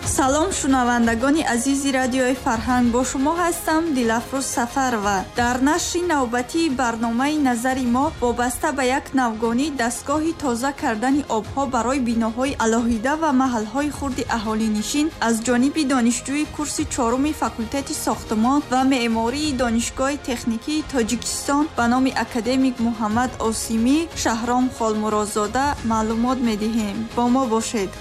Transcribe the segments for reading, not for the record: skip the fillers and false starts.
Салом шунавандагони азизи радиои Фарҳанг, бо шумо ҳастам Дилафрӯз Сафарова. Дар нашри навбатии барномаи назари мо вобаста ба як навгонӣ дастгоҳи тоза кардани обҳо барои биноҳои алоҳида ва маҳалҳои хурди аҳолинишин аз ҷониби донишҷӯи курси чоруми факултети сохтмон ва меъмории Донишгоҳи техникии Тоҷикистон ба номи академик Муҳаммад Осимӣ Шаҳром Холмуродзода маълумот медиҳем. Бо мо бошед.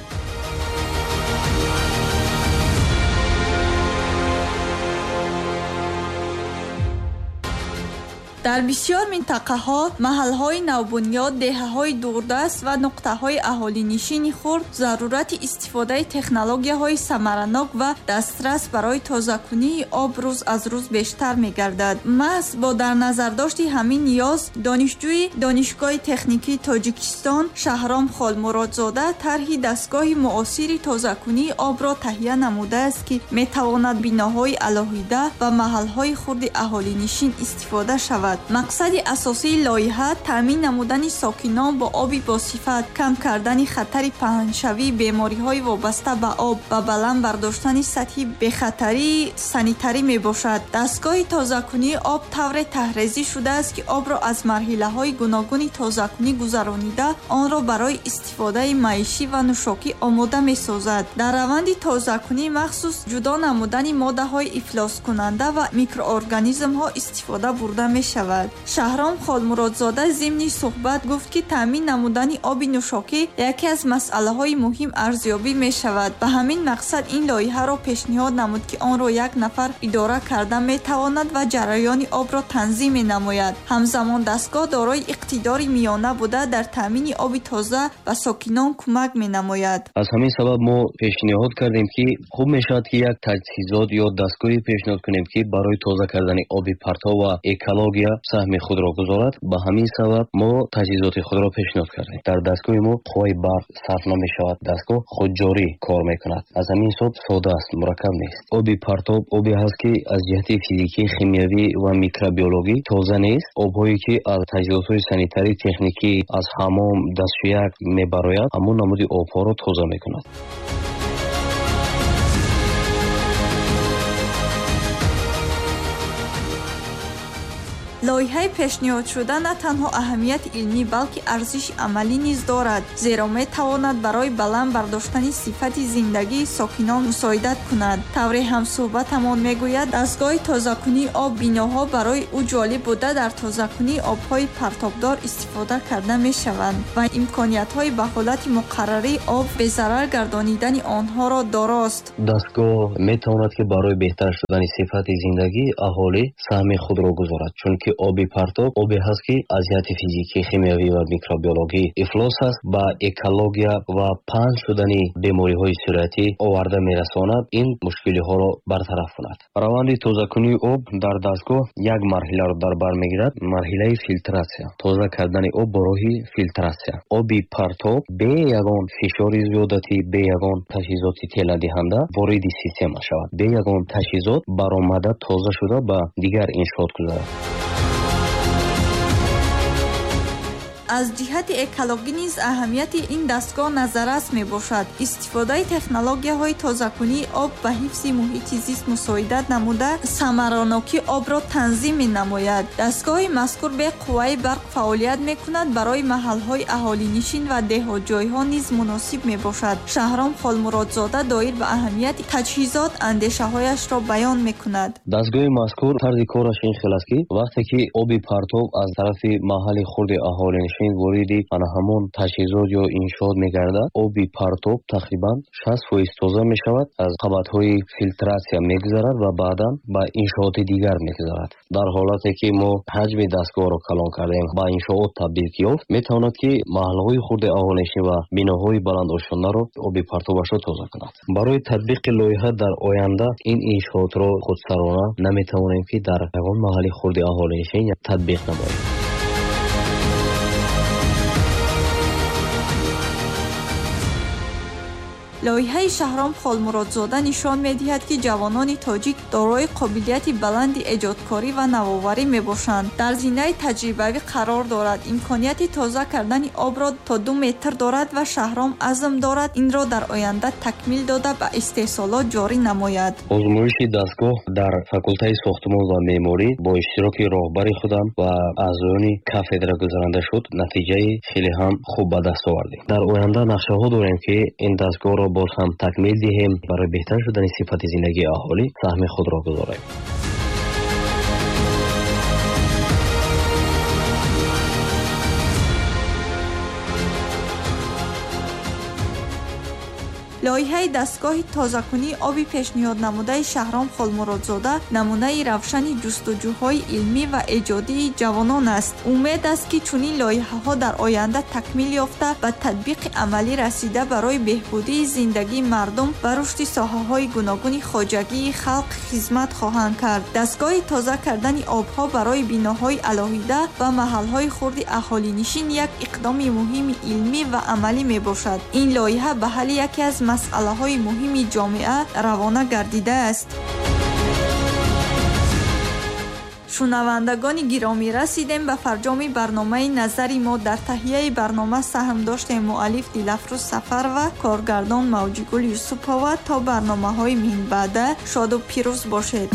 Дар бисёр минтақаҳо, маҳалҳои навбунёд, деҳаҳои дурдаст ва нуқтаҳои аҳолинишини хурд зарурати истифодаи технологияҳои самаранок ва дастрас барои тозакунии об рӯз аз рӯз бештар мегардад. Маҳз бо дар назардошти ҳамин ниёз донишҷӯи Донишгоҳи техникии Тоҷикистон Шаҳром Холмуродзода тарҳи дастгоҳи муосири тозакунии обро таҳия намудааст, ки метавонад биноҳои алоҳида ва маҳалҳои хурди аҳолинишин истифода шавад. Мақсади асосии лоиҳа таъмин намудани сокинон бо оби босифат, кам кардани хатари паҳншавии бемориҳои вобаста ба об ва баланд бардоштани сатҳи бехатарии санитарӣ мебошад. Дастгоҳи тозакунии об тавре таҳрезӣ шудааст, ки обро аз марҳилаҳои гуногуни тозакунӣ гузаронида, онро барои истифодаи маишӣ ва нӯшокӣ омода месозад. Дар раванди тозакунӣ махсус ҷудо намудани моддаҳои ифлоскунанда ва микроорганизмҳо истифода бурда мешавад. Шаҳром Холмуродзода зимни суҳбат гуфт, ки таъмин намудани оби нӯшокӣ яке аз масъалаҳои муҳим арзёбӣ мешавад. Ба ҳамин мақсад ин лоиҳаро пешниҳод намуд, ки онро як нафар идора карда метавонад ва ҷараёни обро танзим менамояд. Ҳамзамон дастгоҳ дорои иқтидори миёна буда, дар таъмини оби тоза ба сокинон кӯмак менамояд. Аз ҳамин сабаб мо пешниҳод кардем, ки хуб мешавад, ки як таҷҳизот ё дастгоҳе пешниҳод кунем, ки барои тоза кардани оби партов ва экология саҳми худро гузорад. Ба ҳамин сабаб мо таҷҳизоти худро пешниҳод кардем. Дар дастгоҳи мо қувваи барқ сарф намешавад, дастгоҳ худҷорӣ кор мекунад. Аз ҳамин ҳисоб сода аст, мураккаб нест. Оби партоб обе ҳаст, ки аз ҷиҳати физикӣ, химиявӣ ва микробиологӣ тоза нест. Обҳое ки аз таҷҳизотҳои санитарӣ, техникӣ, аз ҳамом, дастшӯяк мебарояд, ҳамон намуди обҳоро тоза мекунад. Лоиҳаи пешниҳодшуда на танҳо аҳамияти илмӣ, балки арзиши амалӣ низ дорад, зеро метавонад барои баланд бардоштани сифати зиндагии сокинон мусоидат кунад. Тавре ҳамсӯҳбатамон мегӯяд, дастгоҳи тозакунии об биноҳо барои ӯ ҷолиб буда, дар тозакунии обҳои партобдор истифода карда мешаванд ва имкониятҳои ба ҳолати муқаррарии об безарар гардонидани онҳоро дорост. Дастгоҳ метавонад, ки барои беҳтар шудани сифати зиндагии аҳолӣ саҳми худро гузорад, чунки оби партоб обе ҳаст, ки аз ҷиҳати физикӣ, химиявӣ ва микробиологӣ ифлос аст, ба экология ва паҳн шудани бемориҳои сироятӣ оварда мерасонад, ин мушкилиҳоро бартараф кунад. Раванди тозакунии об дар дастгоҳ як марҳиларо дар бар мегирад, марҳилаи филтратсия, тоза кардани об бо роҳи филтратсия. Оби партоб бе ягон фишори зиёдатӣ, бе ягон таҷҳизоти теладиҳанда вориди система шавад, бе ягон таҷҳизот баромада тоза шуда ба дигар иншоот гузарад. Аз ҷиҳати экологӣ низ аҳамияти ин дастгоҳ назаррас мебошад. Истифодаи технологияҳои тозакунии об ба ҳифзи муҳити зист мусоидат намуда, самаранокии обро танзим менамояд. Дастгоҳи мазкур бе қувваи барқ фаъолият мекунад, барои маҳалҳои аҳолинишин ва деҳотҷойҳо низ муносиб мебошад. Шаҳром Холмуродзода доир ба аҳамияти таҷҳизот андешаҳояшро баён мекунад. Дастгоҳи мазкур тарзи кораш ин хел аст, ки вақте ки оби партоб аз тарафи маҳалли хурди аҳолинишин вориди ана ҳамон таҷҳизот ё иншоот мегардад, оби партоб тақрибан 60% тоза мешавад, аз қабатҳои филтратсия мегузарад ва баъдан ба иншооти дигар мегузарад. Дар ҳолате ки мо ҳаҷми дастгоҳро калон кардем, ба иншоот табдил ёфт, метавонад, ки маҳаллаҳои хурди аҳолинишин ва биноҳои баландошёнаро оби партобашро тоза кунад. Барои татбиқи лоиҳа дар оянда ин иншоотро худсарона наметавонем, ки дар ягон маҳалли хурди аҳолинишин татбиқ намоем. Лоиҳаи Шаҳром Холмуродзода нишон медиҳад, ки ҷавонони тоҷик дорои қобилияти баланди эҷодкорӣ ва навоварӣ мебошанд. Дар зинаи таҷрибавӣ қарор дорад, имконияти тоза кардани обро то 2 метр дорад ва Шаҳром азм дорад инро дар оянда такмил дода ба истеҳсолот ҷорӣ намояд. Озмоиши дастгоҳ дар факултаи сохтмон ва меъморӣ бо иштироки роҳбари худам ва аъзоёни кафедра гузаронда шуд. Натиҷаи хеле ҳам хуб ба даст овардем. Дар оянда нақшаҳо дорем, ки ин дастгоҳро боз ҳам такмил диҳем, барои беҳтар шудани сифати зиндагии аҳолӣ саҳми худро гузорем. Лоиҳаи дастгоҳи тозакунии оби пешниҳоднамудаи Шаҳром Холмуродзода намунаи равшани ҷустуҷӯҳои илмӣ ва эҷодии ҷавонон аст. Умед аст, ки чунин лоиҳаҳо дар оянда такмил ёфта ба татбиқи амалӣ расида барои беҳбудии зиндагии мардум ва рушди соҳаҳои гуногуни хоҷагии халқ хизмат хоҳанд кард. Дастгоҳи тоза кардани обҳо барои биноҳои алоҳида ва маҳалҳои хурди аҳолинишин як иқдоми муҳими илмӣ ва амалӣ мебошад. Ин лоиҳа ба ҳалли яке аз масъалаҳои муҳими ҷомеа равона гардидааст. Шунавандагони гиромӣ, расидем ба фарҷоми барномаи назари мо. Дар таҳияи барнома саҳм доштем муаллиф Дилафрӯз Сафар ва коргардон Мавҷигул Юсупова. То барномаҳои минбаъда шоду пирӯз бошед.